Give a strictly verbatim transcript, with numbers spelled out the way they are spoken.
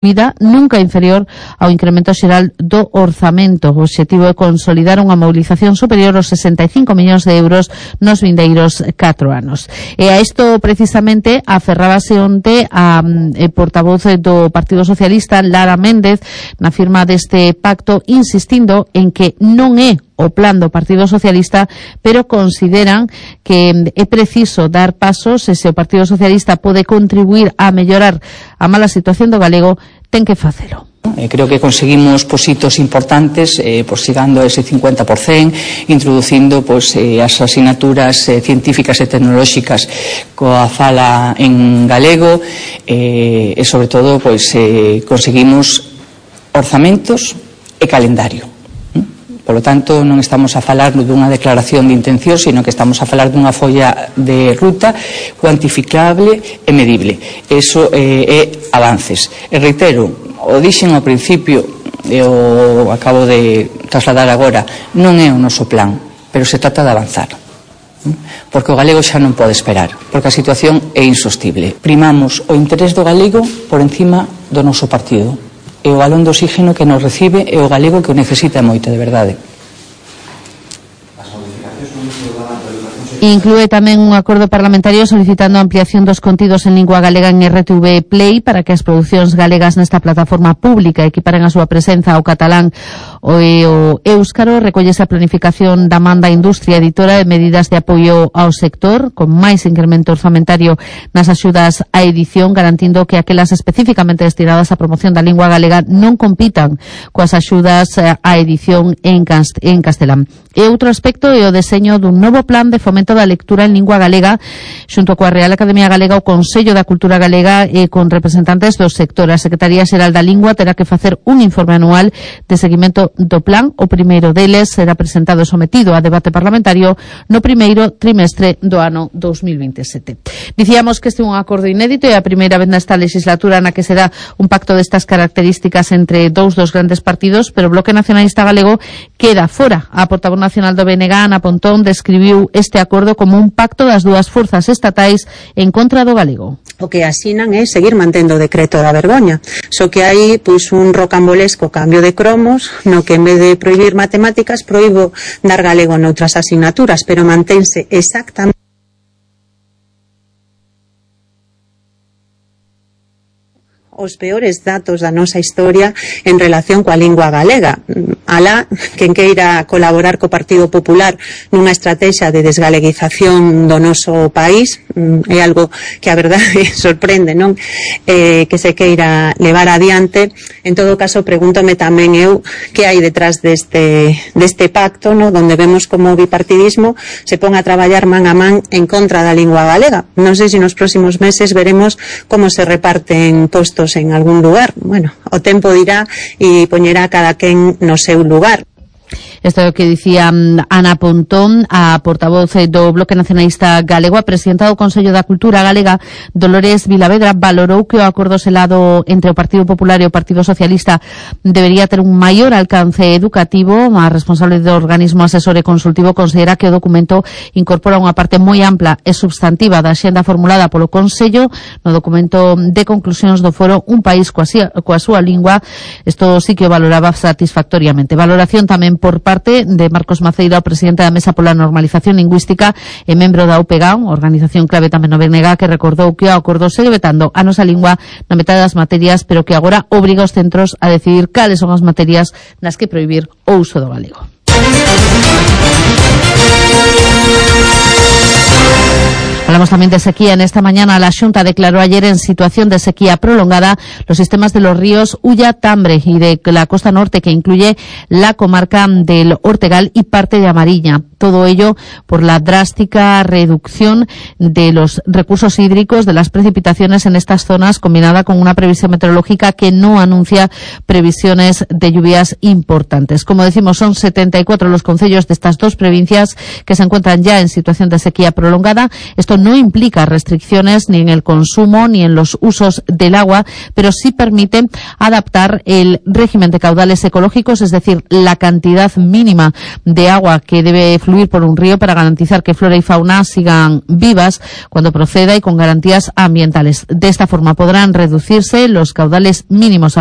vida nunca inferior ao incremento xeral do orzamento. O obxectivo é consolidar unha mobilización superior aos sesenta e cinco millóns de euros nos vindeiros catro anos. E a isto precisamente aferrábase onte a eh, portavoz do Partido Socialista, Lara Méndez, na firma deste pacto, insistindo en que non é o plan do Partido Socialista, pero consideran que é preciso dar pasos e se o Partido Socialista pode contribuir a mellorar a mala situación do galego, ten que facelo. Eh, creo que conseguimos pues, hitos importantes, eh, pues, llegando a ese cincuenta por ciento, introducindo pues, eh, as asignaturas eh, científicas e tecnolóxicas coa fala en galego eh, e, sobre todo, pues, eh, conseguimos orzamentos e calendario. Por lo tanto, non estamos a falar dunha declaración de intención, sino que estamos a falar dunha folla de ruta cuantificable e medible. Eso eh, é avances. E reitero, o dixen ao principio, e o acabo de trasladar agora, non é o noso plan, pero se trata de avanzar. Porque o galego xa non pode esperar, porque a situación é insostible. Primamos o interés do galego por encima do noso partido. E o balón de oxígeno que nos recibe é o galego que o necesita moito, de verdade. Inclúe tamén un acordo parlamentario solicitando a ampliación dos contidos en lingua galega en R T V Play para que as producións galegas nesta plataforma pública equiparen a súa presenza ao catalán o, o éuscaro. Recollese a planificación da man da industria editora de medidas de apoio ao sector, con máis incremento orzamentario nas axudas á edición, garantindo que aquelas especificamente destinadas á promoción da lingua galega non compitan coas axudas á edición en, cast en castelán. E outro aspecto é o deseño dun novo plan de fomento da lectura en lingua galega xunto coa Real Academia Galega, o Consello da Cultura Galega e con representantes do sector. A Secretaría Xeral da Lingua terá que facer un informe anual de seguimento do plan. O primeiro deles será presentado e sometido a debate parlamentario no primeiro trimestre do ano dos mil veintisiete. Dicíamos que este é un acordo inédito e a primeira vez nesta legislatura na que se dá un pacto destas características entre dous dos grandes partidos, pero o Bloque Nacionalista Galego queda fora. A portavoz nacional do B N G, Ana Pontón, describiu este acordo como un pacto das dúas forzas estatais en contra do galego. O que asinan é seguir mantendo o decreto da vergoña, só que hai pois un rocambolesco cambio de cromos no que en vez de prohibir matemáticas proíbo dar galego noutras asignaturas, pero mantense exactamente os peores datos da nosa historia en relación coa lingua galega. Alá, quen queira colaborar co Partido Popular nunha estrategia de desgaleguización do noso país, é algo que a verdade sorprende, non? Eh, que se queira levar adiante. En todo caso, pregúntome tamén eu que hai detrás deste, deste pacto, no? Donde vemos como o bipartidismo se pon a traballar man a man en contra da lingua galega. Non sei se nos próximos meses veremos como se reparten postos en algún lugar. Bueno, o tempo dirá e poñerá cada quen no seu lugar. Isto é o que dicía Ana Pontón, a portavoz do Bloque Nacionalista Galego. A presidenta do Consello da Cultura Galega, Dolores Vilavedra, valorou que o acordo selado entre o Partido Popular e o Partido Socialista debería ter un maior alcance educativo. A responsable do organismo asesor e consultivo considera que o documento incorpora unha parte moi ampla e substantiva da axenda formulada polo Consello no documento de conclusións do foro Un País coa, coa súa lingua. Isto sí que o valoraba satisfactoriamente. Valoración tamén por parte de Marcos Maceira, o presidente da Mesa pola Normalización Lingüística e membro da U P G A, organización clave tamén no B N G, que recordou que o acordo segue vetando a nosa lingua na metade das materias, pero que agora obriga os centros a decidir cales son as materias nas que prohibir o uso do galego. Hablamos también de sequía. En esta mañana la Xunta declaró ayer en situación de sequía prolongada los sistemas de los ríos Ulla, Tambre y de la costa norte, que incluye la comarca del Ortegal y parte de Amarilla. Todo ello por la drástica reducción de los recursos hídricos, de las precipitaciones en estas zonas, combinada con una previsión meteorológica que no anuncia previsiones de lluvias importantes. Como decimos, son setenta y cuatro los concellos de estas dos provincias que se encuentran ya en situación de sequía prolongada. Esto no implica restricciones ni en el consumo ni en los usos del agua, pero sí permite adaptar el régimen de caudales ecológicos, es decir, la cantidad mínima de agua que debe fluir por un río para garantizar que flora y fauna sigan vivas cuando proceda y con garantías ambientales. De esta forma podrán reducirse los caudales mínimos